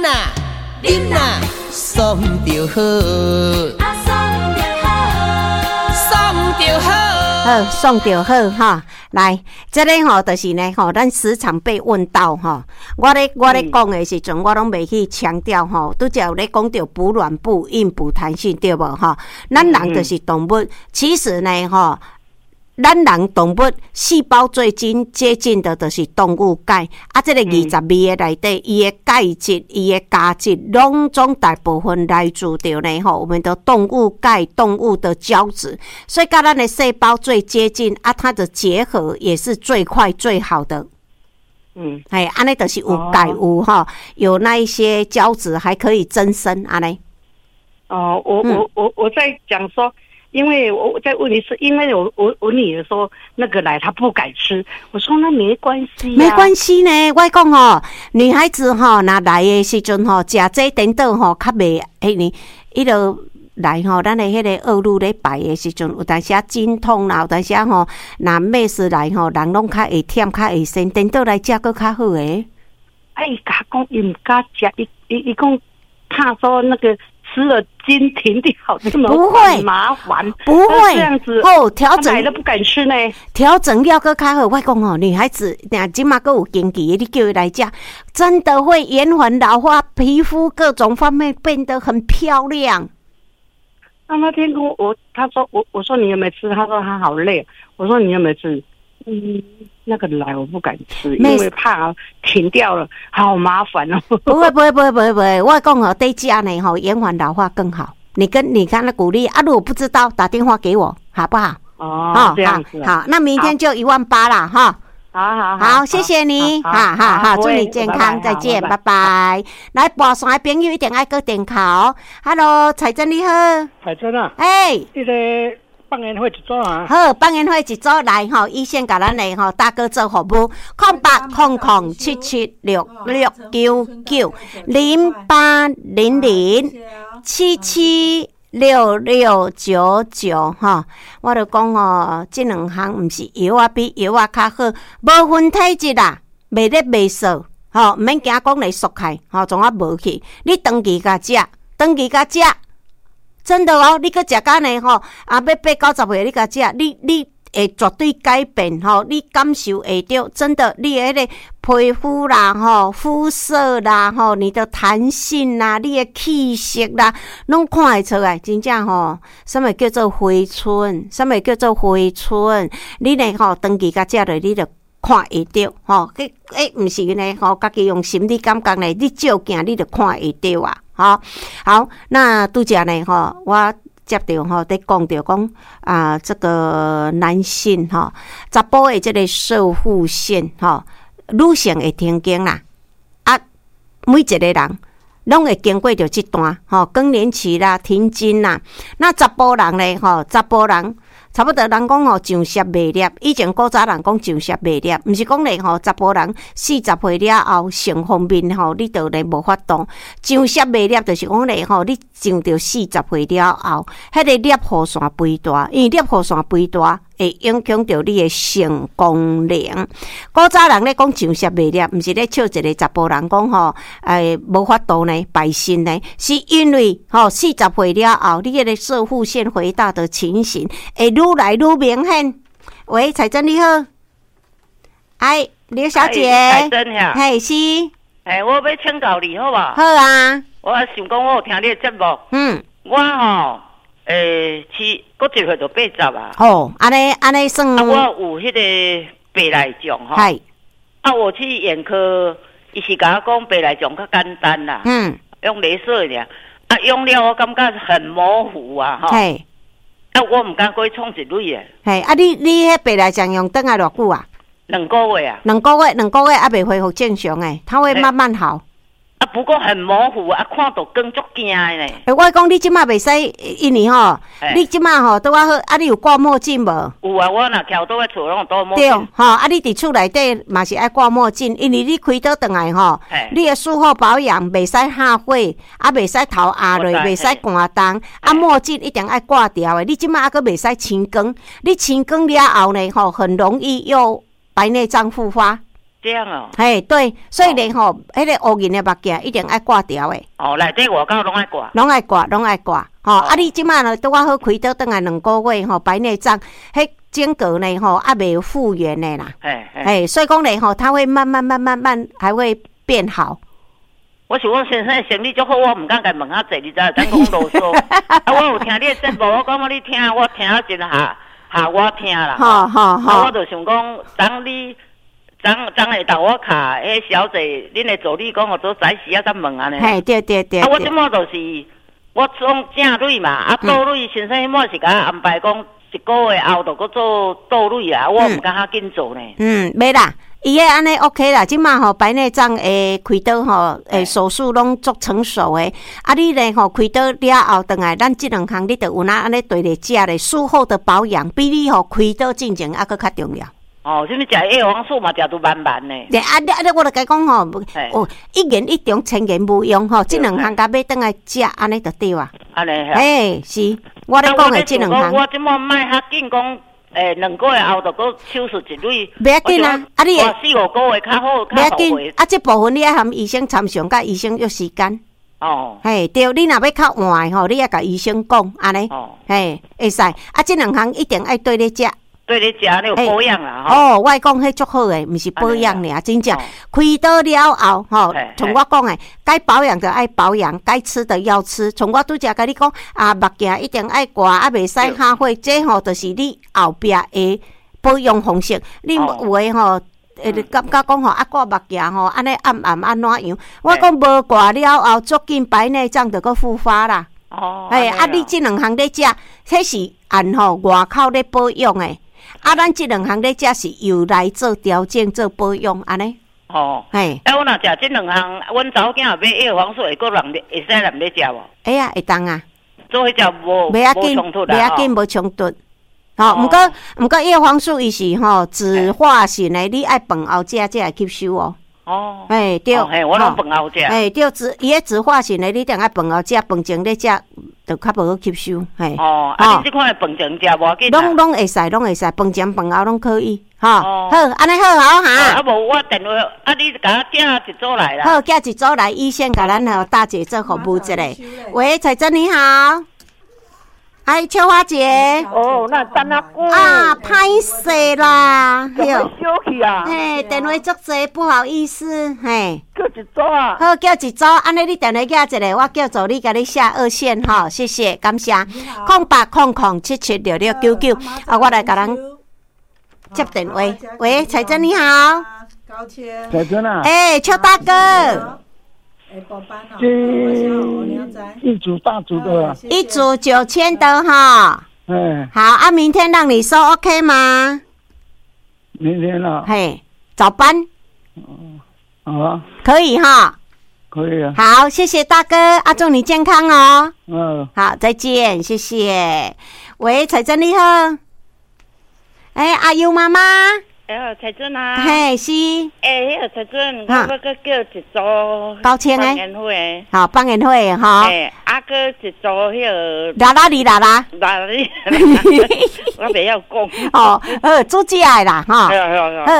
飲啦，啉啦，爽就好。啊，爽就好，爽就好。好，爽就好哈。來，這个吼就是呢吼，咱時常被問到吼，我咧講的時陣，我攏袂去強調吼，拄才有咧講著補軟補硬補彈性對無吼？咱人就是動物，其實呢吼，咱人動物細胞最近接近的，就是動物鈣啊！這个22个內底，伊的鈣質、伊的鉀質，攏總大部分來自著呢吼，我們的動物鈣、動物的膠質，所以佮咱的細胞最接近啊，它的結合也是最快最好的。嘿，按呢就是有鈣有吼，有那一些膠質還可以增生按呢。哦，我在講說。因為我再問一次，因為我女兒說那個來她不敢吃，我說那沒關係，沒關係呢。我講吼，女孩子吼，若來的時陣吼，食這顛倒吼，較袂彼呢，伊就來吼，咱的彼个惡露咧排的時陣，有當時仔經痛啦，有當時仔吼，若咩事來吼，人攏較會忝，較會身，顛倒來食閣較好个。哎，伊講伊毋敢食，伊講怕說那個。吃了經停掉，這麼不會麻煩，不會這樣子哦。調整都不敢吃呢。調整了閣較好。我講哦，女孩子若這馬閣有經期的，你叫伊來食，真的會延緩老化，皮膚各種方面變得很漂亮。那天跟我他說我說你有沒有吃？他說他好累。我說你有沒有吃？嗯，那個來我不敢吃，因為怕停掉了，好麻煩哦。不會不會不會不會不會，我講哦，對食呢吼，延緩老化更好。你跟他鼓勵啊，如果不知道，打電話給我，好不好？哦，這樣子。好，那明天就1萬8了哈。好好好，謝謝你，好好好，祝你健康，再見，拜拜。來，撥線的朋友一定愛閣電敲。Hello，彩珍你好。彩珍啊。哎。這个放煙火一組啊。好，放煙火一組來吼，醫生共咱的吼大哥做服務，08007766990800776699吼，我就講哦，這兩項毋是藥仔比藥仔較好，無分體質啦，袂熱袂燥，吼，毋免驚講會縮開，吼，創啊無去，你長期共食，長期共食。真的哦，你閣食甲呢吼，啊，欲八九十歲你共食，你會絕對改變吼，你感受會著，真的，你的彼个皮膚啦吼，膚色啦吼，你的彈性啦，你的氣色啦，攏看會出來，真正吼，啥物叫做回春？啥物叫做回春？你呢吼，長期共食落，你就看會著吼，彼欸，毋是呢吼，家己用心理感覺呢，你照鏡你就看會著啊。吼，好，那拄才呢吼，我接著吼，佇講著講啊，這個男性吼，查埔的這個攝護腺吼，女性會停經啦，啊，每一個人攏會經過著這段吼，更年期啦、停經啦。那查埔人咧吼，查埔人差不多人講吼上攝袂攝，以前古早人講上攝袂攝，毋是講咧吼，查埔人40歲了後性方面吼，你就咧無法度上攝袂攝，就是講咧吼，你上著四十歲了後，彼个攝護腺肥大，因為攝護腺肥大會影響著你的性功能。古早人咧講上攝袂攝，毋是咧笑一个查埔人講吼，欸，無法度呢，敗身呢，是因為吼四十歲了後，你彼个攝護腺肥大的情形會愈來愈明顯。喂，彩珍你好，哎，劉小姐，彩珍呀，嘿是，哎，我欲請教你好無？好啊，我想講我有聽你的節目，我吼，欸，七，閣一歲就80啊。哦，按呢按呢算。啊，我有彼个白內障吼。啊，我去眼科，伊是共我講白內障較簡單啦。用雷射爾，啊，用了我感覺很模糊啊，吼。啊，我毋敢閣去創一蕊的。嘿，啊你，你彼白內障用轉來偌久啊？2個月啊。兩個月，兩個月猶未恢復正常的，它會慢慢好。啊，不過很模糊啊，看著光足驚的呢。欸，我講你這馬袂使，因為吼，你這馬吼拄仔好，啊，你有掛墨鏡無？有啊，我若徛倒佇厝攏有戴墨鏡。對，吼，啊，你佇厝內底嘛是愛掛墨鏡，因為你開刀轉來吼，你的術後保養袂使下火，啊，袂使頭壓落，袂使寒凍，啊，墨鏡一定愛掛牢的。你這馬猶閣袂使青光，你青光了後呢，吼，很容易又白內障復發。這樣哦。嘿，對，所以咧吼，彼個烏銀的目鏡一定愛掛掉的。哦，內底外口攏愛掛。攏愛掛，攏愛掛。吼，啊，你這擺呢拄仔好開刀轉來2個月吼，白內障，彼整個呢吼猶未復原的啦。嘿，所以講咧吼，它會慢慢慢慢慢還會變好。我想我先生生理足好，我毋敢共問較濟，你知？等講囉嗦。啊，我有聽你的節目，我感覺你聽，我聽啊真下下我聽啦。好好好。啊，我就想講，當你昨昨下晝我卡彼小姐，恁的助理講，予做早時啊，才問按呢。嘿，對對對。啊，我這擺就是我總正蕊嘛，啊倒蕊先生彼擺是共我安排講一個月後就閣做倒蕊啊，我毋敢較緊做呢。嗯，袂啦。伊个按呢 OK 啦，這馬吼白內障的開刀吼，手術攏足成熟的。啊，你咧吼開刀了後，轉來咱這兩項你就有哪按呢綴咧食咧，術後的保養比你吼開刀進前猶閣較重要。哦，啥物食葉黃素嘛，食都慢慢的。對啊，你啊，我就共講吼，哦，一言一中，千言無用吼，這兩項共買轉來食，按呢就對啊。按呢。嘿，是，我咧講的這兩項。我這擺莫較緊講。2個月後就閣手術一蕊。袂要緊啊，啊你四五個月較好，袂要緊。啊，這部分你愛含醫生參詳，佮醫生約時間。哦。嘿，對，你若欲較晚吼，你愛共醫生講，按呢。哦。嘿，會使。啊，這兩項一定愛綴咧食。綴咧食，你有保養啦。哦，我講彼足好的，毋是保養爾，真正開刀了後，吼，像我講的，該保養的愛保養，該吃的要吃。像我拄才共你講，啊，目鏡一定愛掛，啊，袂使哈火，這吼就是你後壁的保養方式。你有的吼，會感覺講吼，啊掛目鏡吼，按呢暗暗按怎樣？我講無掛了後，足緊白內障就閣復發啦。哦。嘿，啊，你這兩項咧食，彼是按吼外口咧保養的。啊，咱這兩項咧食是由來做調整、做保養，按呢？哦，嘿。啊，我若食這兩項，阮查某囝買葉黃素會閣人會使人咧食無？會啊，會當啊。做彼食無袂要緊，袂要緊，無衝突。吼，毋過葉黃素伊是吼酯化型的，你愛飯後食才會吸收哦。哦。嘿，對。嘿，我攏飯後食。嘿，對，伊彼酯化型的，你一定愛飯後食，飯前咧食。就較無好吸收，嘿。哦，啊，你這款的飯前食無要緊。攏會使，攏會使，飯前飯後攏可以，吼。好，按呢好好哈。啊，無我電話，啊，你共我寄一組來啦。好，寄一組來，醫生共咱吼大姐做服務一下。喂，彩珍你好。哎，秋花姐。哦，那等啊久。啊，歹勢啦。怎麼小氣啊？嘿，電話足濟，不好意思，嘿。叫一組啊。好，叫一組，按呢你電話寄一個，我叫助理共你下二線吼，謝謝，感謝。0800776699，啊，我來共人接電話。喂，彩珍你好。高千。彩珍啊。欸，邱大哥。這一組大組的，一組9000的哈。嗯，好啊，明天讓你收 OK 嗎？明天啊。嘿，早班。好啊。可以哈。可以啊。好，謝謝大哥，啊，祝你健康哦。嗯。好，再見，謝謝。喂，彩珍你好。哎，阿優媽媽。哎，彩珍啊！嘿，是。欸，彼个彩珍，我欲閣叫一组高清的。放烟火的。好，放烟火的哈。欸，啊，阁一组彼个。啦啦哩啦啦。啦啦哩，我袂晓讲。哦，好，煮食的啦，吼。好，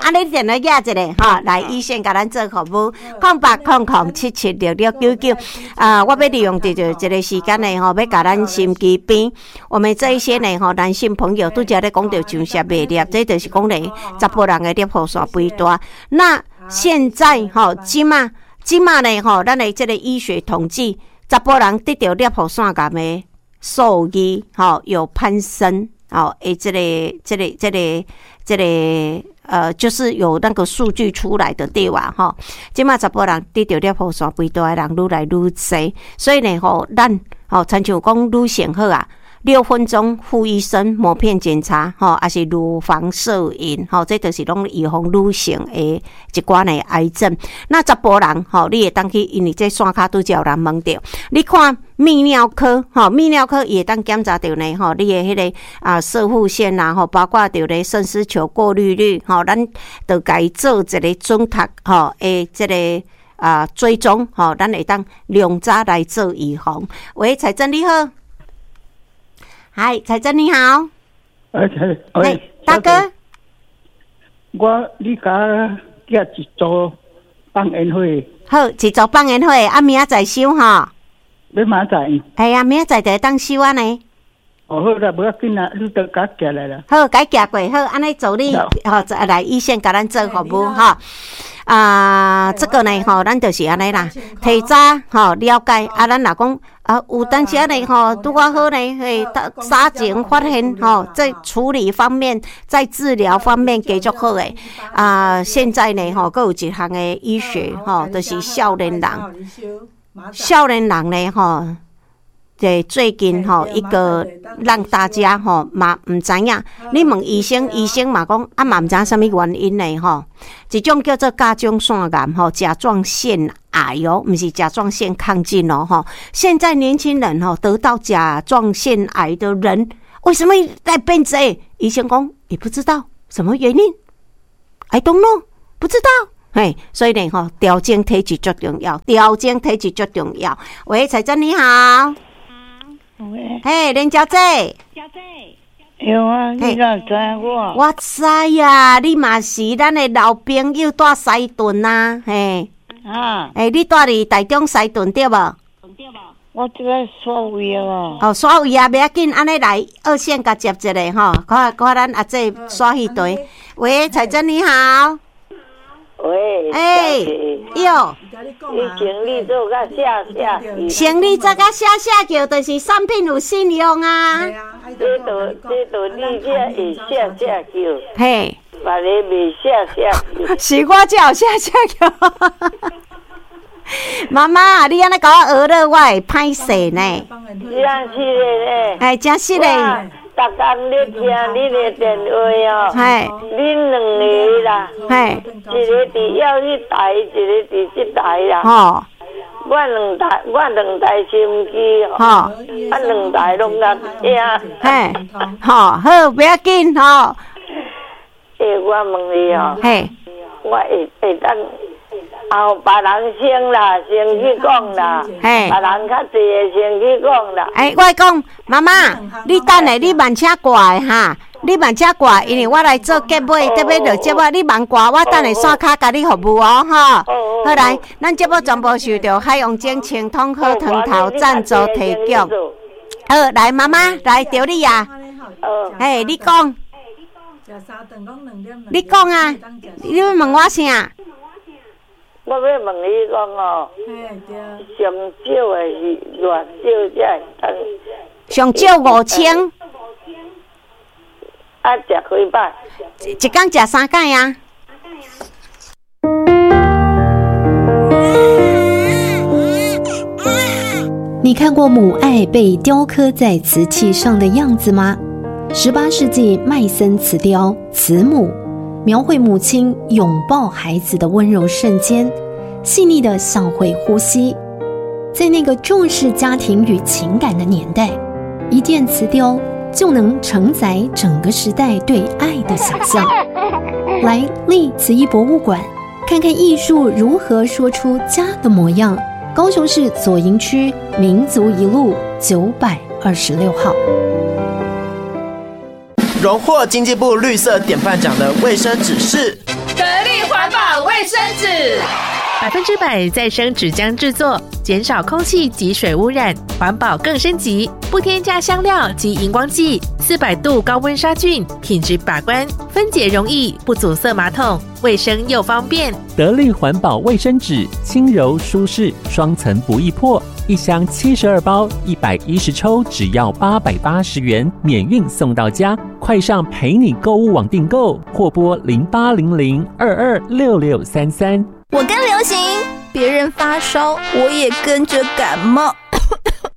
按呢电话寄一个吼，来医生共咱做服务，0800776699。啊，我欲利用著這個時間呢，吼，欲共咱心機邊，我們這一些呢，吼，男性朋友拄才咧講著上舌袂粒，這就是講咧，查埔人的攝護腺肥大。那現在吼，這馬這馬呢吼，咱的這個醫學統計，查埔人得著攝護腺癌的數字吼有攀升，吼，欸，這個，就是有那個數據出來的對吧？吼，這馬查埔人得著攝護腺肥大的人愈來愈濟，所以呢吼，咱吼，親像講女性好啊。6分鐘護一生抹片檢查，吼，抑是乳房攝影，吼，這就是攏預防女性的一寡的癌症。那查埔人，吼，你會當去，因為這線跤拄才有人問著，你看泌尿科，吼，泌尿科伊會當檢查著呢，吼，你的彼個啊，攝護腺啦，吼，包括著咧腎絲球過濾率，吼，咱就共伊做一個準確，吼，的這個啊追蹤，吼，咱會當量早來做預防。喂，彩珍你好。嗨，彩珍你好。哎，大哥。我你共寄一组放烟火。好，一组放烟火，啊，明仔载收吼。欲明仔载。系啊，明仔载就会当收按呢。哦，好啦，无要紧啦，你都共寄来啦。好，共寄过，好，按呢助你，吼，来医生共咱做服务吼。啊，这个呢，吼，咱就是按呢啦，提早吼了解，啊，咱若讲啊，有当时按呢吼，拄仔好呢，嘿，早前发现吼，在处理方面，在治疗方面加足好的。啊，现在呢，吼，阁有一项的医学吼，就是少年人，少年人呢，吼。这最近吼，一个让大家吼嘛毋知影，你问医生，医生嘛讲啊嘛毋知影啥物原因呢吼。一种叫做甲状腺癌吼，甲状腺癌哦，毋是甲状腺亢进哦吼。现在年轻人吼得到甲状腺癌的人，为什么在变济？医生讲也不知道什么原因，I don't know，不知道。嘿，所以呢吼，调整体质足重要，调整体质足重要。喂，彩珍你好。喂，嘿，林小姐。小姐，有啊，你哪知我？我知啊，你嘛是咱的老朋友，蹛西屯啊，嘿。啊。欸，你蹛伫台中西屯对无？我这个煞位啊。哦，煞位啊，袂要紧，按呢来二线共接一下吼，看看咱阿姐煞彼块。喂，彩珍你好。喂，欸，哟，以前你做甲写写，生理做甲写写叫，就是产品有信用啊。这都这都你这会写写叫，嘿，别个袂写写叫。是我才有写写叫。妈妈，你按呢共我学了，我会歹势呢。真实的呢。哎，真实的。逐工咧听恁的电话哦，恁两个啦，一个伫药彼台，一个伫这台啦。我两台，我两台收音机吼，啊两台拢共听。嘿，好，好，不要紧吼。欸，我问你哦，我会会当后别人先啦，先去讲啦，别人较济的先去讲啦。欸，我讲妈妈，你等下你慢车挂的哈，你慢车挂，因为我来做结尾，特别落节目，你慢挂，我等下刷卡共你服务哦，吼。好来，咱节目全部受到海洋精清通好汤头赞助提供。好，来妈妈来著你啊。嘿，你讲。你讲啊，你欲问我啥？我欲问你讲哦，上少的是偌少才会当？上少5000。啊，食几摆？一工食三摆啊。你看过母爱被雕刻在瓷器上的样子吗？18世纪麦森瓷雕慈母，描绘母亲拥抱孩子的温柔瞬间，细腻的像会呼吸。在那个重视家庭与情感的年代，一件瓷雕就能承载整个时代对爱的想象。来立瓷艺博物馆，看看艺术如何说出家的模样。高雄市左营区民族一路926号。荣获经济部绿色典范奖的卫生纸是得力环保卫生纸，100%再生纸浆制作，减少空气及水污染，环保更升级，不添加香料及荧光剂，400度高温杀菌，品质把关，分解容易，不阻塞马桶，卫生又方便。得力环保卫生纸，轻柔舒适，双层不易破。一箱72包，110抽，只要880元，免运送到家。快上陪你购物网订购，或拨0800226633。我跟流行，别人发烧，我也跟着感冒。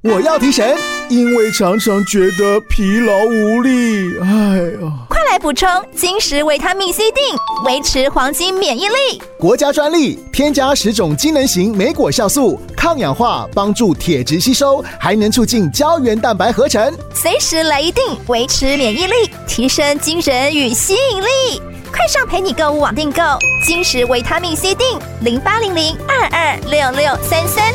我要提神，因为常常觉得疲劳无力。哎呦，快来补充金石维他命 C 锭，维持黄金免疫力。国家专利，添加10种机能型莓果酵素，抗氧化，帮助铁质吸收，还能促进胶原蛋白合成。随时来一锭，维持免疫力，提升精神与吸引力。快上陪你购物网订购金石维他命 C 锭0800226633。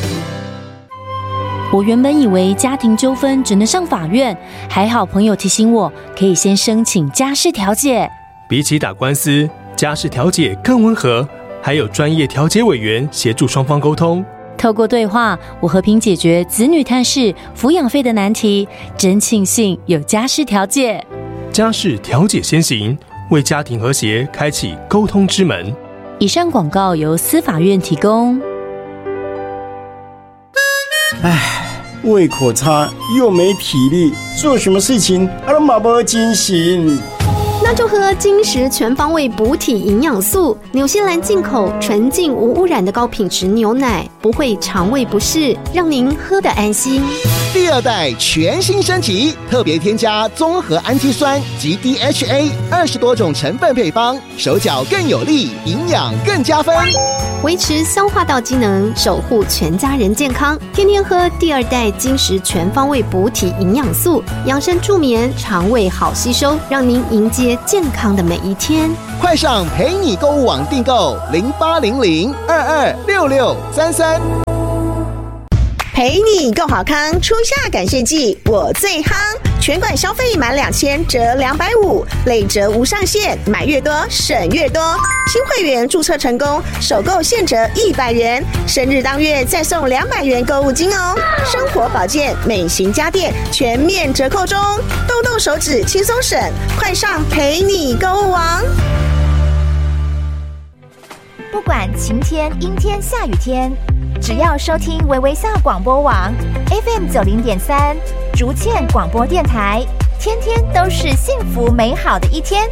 我原本以为家庭纠纷只能上法院，还好朋友提醒我可以先申请家事调解。比起打官司，家事调解更温和，还有专业调解委员协助双方沟通。透过对话，我和平解决子女探视、抚养费的难题，真庆幸有家事调解。家事调解先行，为家庭和谐开启沟通之门。以上广告由司法院提供。唉，胃口差又没体力，做什么事情都嘛无精神。那就喝金石全方位补体营养素，纽西兰进口纯净无污染的高品质牛奶，不会肠胃不适，让您喝得安心。第二代全新升级，特别添加综合氨基酸及 DHA 20多种成分配方，手脚更有力，营养更加分，维持消化道机能，守护全家人健康。天天喝第二代金石全方位补体营养素，养生助眠，肠胃好吸收，让您迎接健康的每一天。快上陪你购物网订购0800226633。陪你共好康，初夏感谢季，我最夯！全馆消费满2000折250，累折无上限，买越多省越多。新会员注册成功，首购现折100元，生日当月再送200元购物金哦。生活保健、美型家电全面折扣中，动动手指轻松省，快上陪你购物网！不管晴天、阴天、下雨天，只要收听微微笑广播网 FM 90.3竹堑广播电台，天天都是幸福美好的一天。